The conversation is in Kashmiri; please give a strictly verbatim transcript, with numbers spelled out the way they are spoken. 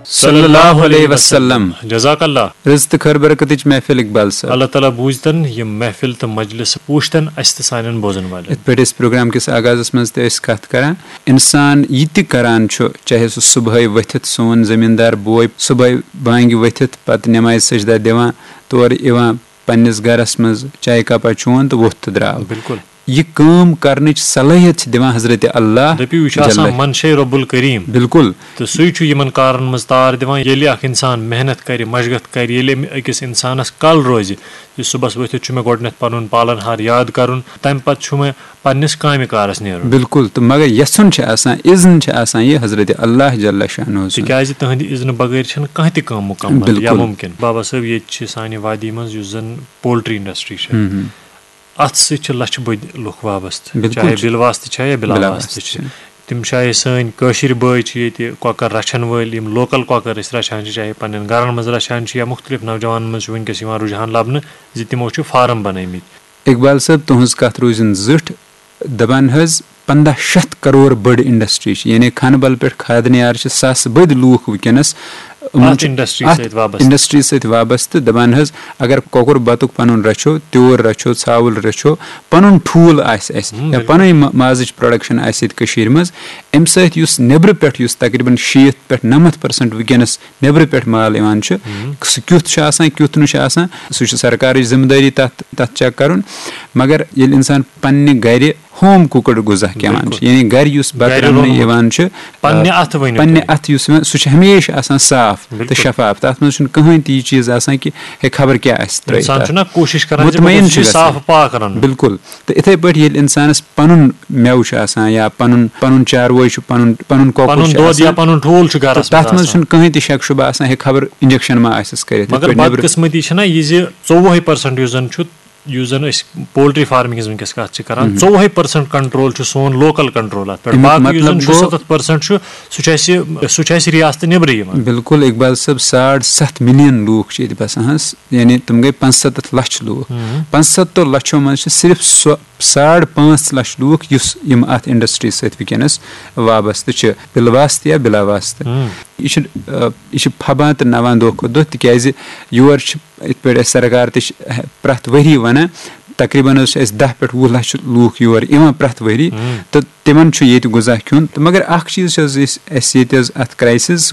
صلی اللہ علیہ وسلم۔ جزاک اللہ۔ رٕژ تہٕ خٲر برکتٕچ محفل اقبال صٲب۔ اللہ تعالیٰ بوٗزتن یِم محفل تہٕ مجلس وٕچھتن اسہِ تہٕ سانٮ۪ن بوزن والٮ۪ن۔ یِتھ پٲٹھۍ أسۍ پروگرام کِس آغازس منٛز تہِ ٲسۍ کتھ کران، انسان یہِ تہِ کران چھُ، چاہے سُہ صبحٲے ؤتھِتھ سون زٔمیٖندار بوے صبحٲے بانگہِ ؤتھِتھ پتہٕ نمازِ سجدہ دِوان، تورٕ یِوان پننِس گرس منٛز چایہِ کپا چون تہٕ ووٚتھ تہٕ درٛاو۔ بِلکُل۔ یہِ کٲم کرنٕچ صلٲحیت چھِ دِوان حضرت اللہ۔ دٔپِو، یہِ چھُ آسان جل۔ منشے رب الکریم۔ بِلکُل۔ تہٕ سُے چھُ یِمن کارن منٛز تار دِوان، ییٚلہِ اکھ انسان محنت کرِ، مشقت کرِ، ییٚلہِ أمۍ أکِس انسانس کل روزِ، یہِ صُبحس ؤتھِتھ چھُ مےٚ گۄڈٕنٮ۪تھ پنُن پالن ہار یاد کرُن، تمہِ پتہٕ چھُ مےٚ پننِس کامہِ کارس نیرُن۔ بِلکُل، تہٕ مگر یژھُن چھُ آسان، اذن چھُ آسان یہِ حضرت اللہ جل شانہ سُنٛد۔ تِکیازِ تُہنٛدِ اذنہٕ بغٲر چھنہٕ کانٛہہ تہِ کٲم مُکمل یا بِلکُل۔ مُمکِن۔ بابا صٲب، ییٚتہِ چھِ سانہِ وادی منٛز یُس زن پولٹری انڈسٹری چھِ، ہم ہم۔ اتھ سۭتۍ چھِ لچھِ بٔدۍ لُکھ وابستہٕ، بِلکُل چاہے چھِ۔ بِل واسطہٕ چھا یا بِلا بِلا واسطہٕ واسطہٕ چھِ۔ چھِ۔ تِم چھِ آیہِ سٲنۍ کٲشِرۍ بٲے چھِ ییٚتہِ کۄکر رچھن وٲلۍ، یِم لوکل کۄکر أسۍ رچھان چھِ، چاہے پننٮ۪ن گرن منٛز رچھان چھِ یا مختلف نوجوانن منٛز چھُ وٕنکیٚس یِوان رُجحان لبنہٕ زِ تِمو چھِ فارم بنٲومٕتۍ۔ اقبال صٲب، تُہنٛز کتھ روٗزِن زِٹھ۔ دپان حظ، پنٛداہ شیٚتھ کرور بٔڑ انڈسٹری چھِ، یعنی کھنہٕ بل پٮ۪ٹھ کھادنیار چھِ ساسہٕ بٔدۍ لوٗکھ وٕنکیٚنس یِمن اَتھ چھِ industry اَتھ سۭتۍ وابستہٕ۔ Industry سۭتۍ وابستہٕ۔ دپان حظ، اگر کۄکُر بتُک پنُن رچھو، تیوٗر رچھو، ژھاوُل رچھو، پنُن ٹھوٗل آسہِ اَسہِ ہم، یا بِلکُل۔ پنٕنۍ ما-، مازٕچ production آسہِ ییٚتہِ کٔشیٖرِ منٛز، اَمہِ سۭتۍ یُس نیٚبرٕ پٮ۪ٹھ یُس تقریباً شیٖتھ پٮ۪ٹھ نَمَتھ percent وٕنکیٚنس نیٚبرٕ پٮ۪ٹھ مال یِوان چھُ، ہم۔ سُہ کیُتھ چھُ آسان، کیُتھ نہٕ چھُ آسان، سُہ چھُ سرکارٕچ ذمہٕ دٲری تَتھ، تَتھ check کرُن۔ مگر ییٚلہِ انسان پننہِ گرِ ہوم کوکڈ غذا کھٮ۪وان بِلکُل۔ چھُ، یعنی گرِ یُس بتہٕ گرِ رننہٕ روٚنمُت۔ یِوان چھُ، پننہِ آ، اَتھٕ ؤنِو پننہِ تُہۍ۔ اَتھٕ یُس یِوان، سُہ چھُ ہمیشہِ آسان صاف تہٕ بِلکُل۔ شفاف۔ تَتھ منٛز چھُنہٕ کٕہٕنۍ تہِ یہِ چیٖز آسان کہِ ہے خبر کیٛاہ آسہِ ترٲیِتھ انسان تَتھ۔ چھُنہ کوٗشِش کران زِ بہٕ مطمئن گوٚژھُس چھُ یہِ گژھان۔ صاف پاک رَنُن۔ بِلکُل۔ تہٕ اِتھَے پٲٹھۍ ییٚلہِ اِنسانَس پَنُن مٮ۪وٕ چھُ آسان یا پَنُن، پَنُن چاروٲے چھُ، پَنُن، پَنُن کۄکُر پَنُن چھُ دۄد یا آسان، پَنُن ٹھوٗل چھُ گَرَس تہٕ تَتھ منٛز منٛز آسان۔ چھُنہٕ کٕہٕنۍ تہِ شک شُبہٕ آسان، ہے خبر injection ما آسٮ۪س کٔرِتھ، یِتھ بَگر پٲٹھۍ نیٚبرٕ۔ بدقٕسمتی چھَنہ یہِ زِ ژوٚوُہَے percent یُس زَن چھُ، یُس زَن أسۍ poultry farming ہِنٛز وٕنکیٚس کَتھ چھِ کَران، مہم۔ ژوٚوُہَے percent control چھُ سون local control اَتھ پٮ۪ٹھ۔ اَمیُک باقٕے یُس زَن مطلب چھُ گوٚو، سَتَتھ percent چھُ، سُہ چھُ اَسہِ، سُہ چھُ اَسہِ رِیاستہٕ نیٚبرٕ یِوان۔ بِلکُل اقبال صٲب، ساڑ سَتھ million لوٗکھ چھِ ییٚتہِ بَسان حظ، یعنی تِم گٔے پانٛژسَتَتھ لَچھ لوٗکھ۔ مہم۔ پانٛژسَتَتھ لَچھو منٛز چھِ صرف سۄ ساڑ پانٛژھ لَچھ لوٗکھ یُس یِم اَتھ industry سۭتۍ وٕنکیٚنَس وابستہٕ چھِ، بِلواسطہٕ یا بِلاواسطہٕ۔ ہم۔ یہِ چھُ، آ، یہِ چھُ پھبان تہٕ نَوان دۄہ کھۄتہٕ دۄہ، تِکیٛازِ یور چھِ یِتھ پٲٹھۍ اَسہِ سرکار تہِ چھِ پرٛٮ۪تھ ؤری وَنان، تقریباً حظ چھِ اَسہِ دَہ پٮ۪ٹھ وُہ لَچھ لوٗکھ یور یِوان پرٛٮ۪تھ ؤری، ہم۔ تہٕ تِمَن چھُ ییٚتہِ غذا کھیوٚن۔ تہٕ مگر اَکھ چیٖز چھِ حظ أسۍ، اَسہِ ییٚتہِ حظ اَتھ crisis